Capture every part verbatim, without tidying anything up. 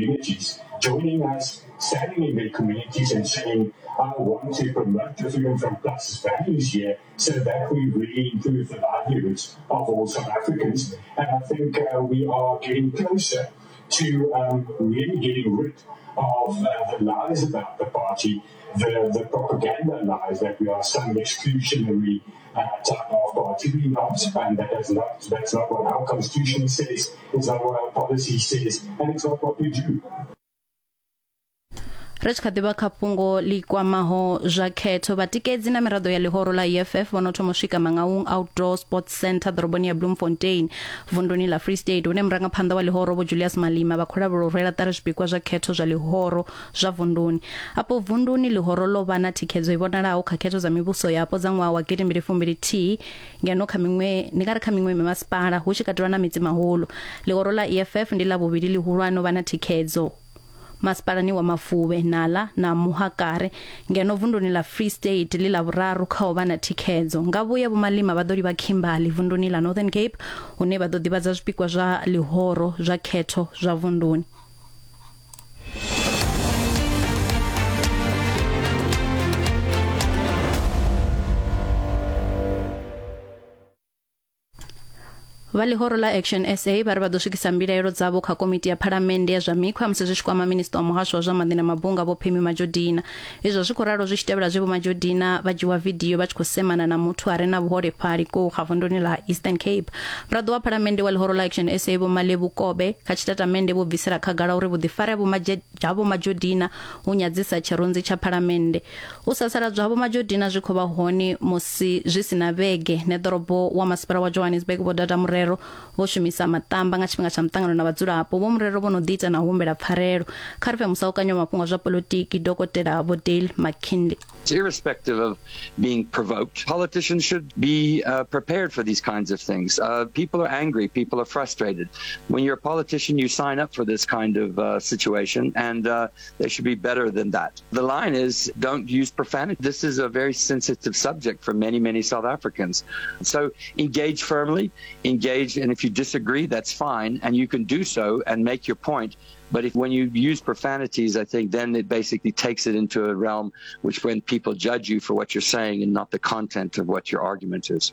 communities joining us, standing in their communities and saying, I want to promote the Freedom Front Plus values here so that we really improve the livelihoods of all South Africans. And I think uh, we are getting closer to um, really getting rid of uh, the lies about the party, the, the propaganda lies that we are some exclusionary uh, type of party. We're not, and that is not, that's not what our constitution says, it's not what our policy says, and it's not what we do. Ri tshi kha ḓivha kha fhungo ḽi kwamaho zwa khetho, vhatikedzi na miraḓo ya ḽihoro ḽa E F F vho no thoma u swika Mangaung Outdoor Sports Centre ḓoroboni ya Bloemfontein vunduni ḽa Free State, hune murangaphanḓa wa ḽihoro Vho Julius Malema vha khou lavhelelwa u rwela ṱari zwipikwa zwa khetho zwa ḽihoro zwa vunduni. Afho vunduni ḽihoro ḽo vha na thikhedzo i vhonalaho kha khetho dza mivhuso yapo dza ṅwaha wa gidi mbili fumbili thihi, ngeno kha miṅwe ndi nga ri kha miṅwe mimasipala hu tshi katelwa na mitsi mahulu. Ḽihoro ḽa E F F ndi ḽa vhuvhili ḽihulwane u vha na thikhedzo masipalani wa Mafube, Nala na Muhakare, ngeno vunduni ḽa Free State ḽi ḽa vhuraru kha u vha na thikhedzo. Nga vhuya Vho Malema vha ḓo livha Kimberley vunduni ḽa Northern Cape, hune vha ḓo ḓivhadza zwipikwa zwa ḽihoro zwa khetho zwa vunduni. Vha ḽihoro ḽa Action S A vha ri vha ḓo swikisa mbilaelo dzavho kha komiti ya phalamennde ya zwa mikhwa musi zwi tshi kwama minisiṱa wa muhasho wa zwa maḓi na mabunga Vho Pemmy Majodina. Izwo zwi khou ralo zwi tshi tevhela zwe Vho Majodina vha dzhiwa vidio vha tshi khou semana na muthu a re na vhuholefhali kou kha vunduni ḽa Eastern Cape. Muraḓo wa phalamennde wa ḽihoro ḽa Action S A Vho Malebo Kobe kha tshitatamennde vho bvisela khagala uri vhuḓifari ha Vho Majodina hu nyadzisa tshirunzi tsha phalamennde. U sasaladzwa ha Vho Majodina zwi khou vha hone musi zwi si na vhege neḓorobo wa masipala wa Johannesburg Vho Dada Murero vho shumisa matamba nga tshifhinga tsha muṱangano na vhadzulapo. Vho Murero vho no ḓi ita na humbela pfarelo. Kha ri fhe musaukanyo wa mafhungo a zwa polotiki Dokotela Vho Dale McKinley. Irrespective of being provoked, politicians should be uh, prepared for these kinds of things. Uh, people are angry, people are frustrated. When you're a politician, you sign up for this kind of uh, situation, and uh, they should be better than that. The line is, don't use profanity. This is a very sensitive subject for many, many South Africans. So engage firmly, engage, and if you disagree, that's fine, and you can do so and make your point. But if when you use profanities, I think then it basically takes it into a realm which when people judge you for what you're saying and not the content of what your argument is.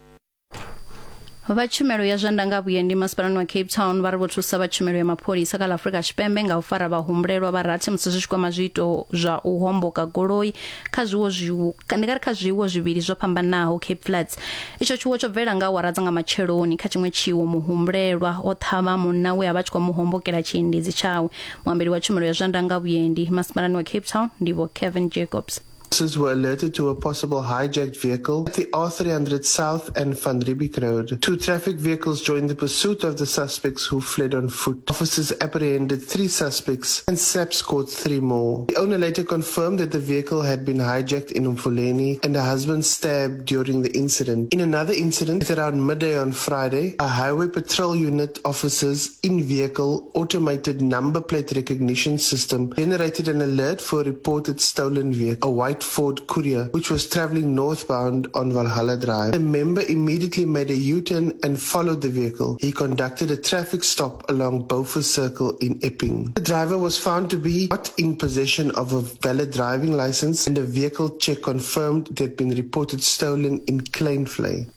Vha tshumelo ya zwa ndanga vhuendi masipalani wa Cape Town vha ri vho thusa vha tshumelo ya mapholisa kha ḽa Afrika Tshipembe nga u fara vhahumbulelwa vha rathi musi zwi tshi kwama zwiito zwa u homboka goloi kha zwiwo zwiwo ndi nga ri kha zwiwo zwivhili zwo fhambanaho Cape Flats. Itsho tshiwo tsho bvela nga awara dza nga matsheloni. Kha tshiṅwe tshiwo muhumbulelwa o ṱhavha munna we a vha tshi khou mu hombokela tshiendedzi tshawe. Muambeli wa tshumelo ya zwa ndanga vhuendi masipalani wa Cape Town ndi Vho Kevin Jacobs. Officers were alerted to a possible hijacked vehicle at the R three hundred South and Van Riebeeck Road. Two traffic vehicles joined the pursuit of the suspects, who fled on foot. Officers apprehended three suspects and SAPS caught three more. The owner later confirmed that the vehicle had been hijacked in Umfuleni and the husband stabbed during the incident. In another incident, at around midday on Friday, a highway patrol unit officers in-vehicle automated number plate recognition system generated an alert for a reported stolen vehicle, a white Ford Courier, which was traveling northbound on Valhalla Drive. A member immediately made a U-turn and followed the vehicle. He conducted a traffic stop along Beaufort Circle in Epping. The driver was found to be not in possession of a valid driving license, and a vehicle check confirmed it had been reported stolen in Kleinvlei.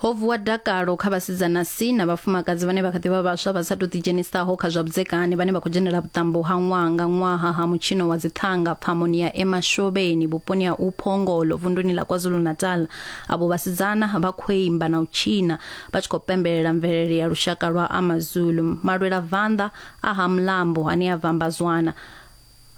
Ho vuwa dakalo kha vhasidzana si na vhafumakadzi vhane vha kha ḓi vha vhaswa vha sa tou ḓidzhenisaho kha zwa vhudzekani vhane vha khou dzhenela vhuṱambo ha ṅwaha nga ṅwaha ha mutshino wa dziṱhanga pfamoni ya Emashobeni vhuponi ha Uphongolo vunduni ḽa KwaZulu-Natal. Avho vhasidzana vha khou imba na u tshina vha tshi khou pembelela mvelele ya lushaka lwa AmaZulu. Malwela vanḓa a ha Mlambo ane a vhambazwana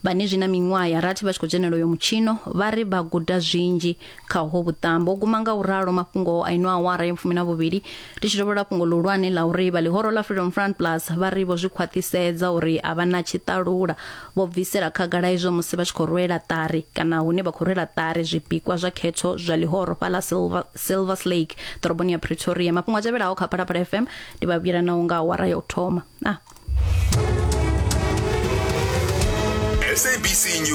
vhane zwina miṅwaha ya rathi vha tshi khou dzhenela uyo mutshino vha ri vha guda zwinzhi kha ho vhuṱambo. U guma nga u ralo mafhungo a ino awara ya fumi na vhuvhili ndi tshi dovholola fhungo ḽihulwane ḽa uri vha ḽihoro ḽa Freedom Front Plus vha ri vho zwi khwaṱhisedza uri a vha na tshiṱalula, vho bvisela khagala izwo musi vha tshi khou rwela ṱari kana hune vha khou rwela ṱari zwipikwa zwa khetho zwa ḽihoro fhaḽa Silver, Silvers Lake ḓoroboni ya Pretoria. Mafhungo a tevhelaho kha Phalaphala F M ndi vha vhuyela nao nga awara ya u thoma. Ah. S A B C News.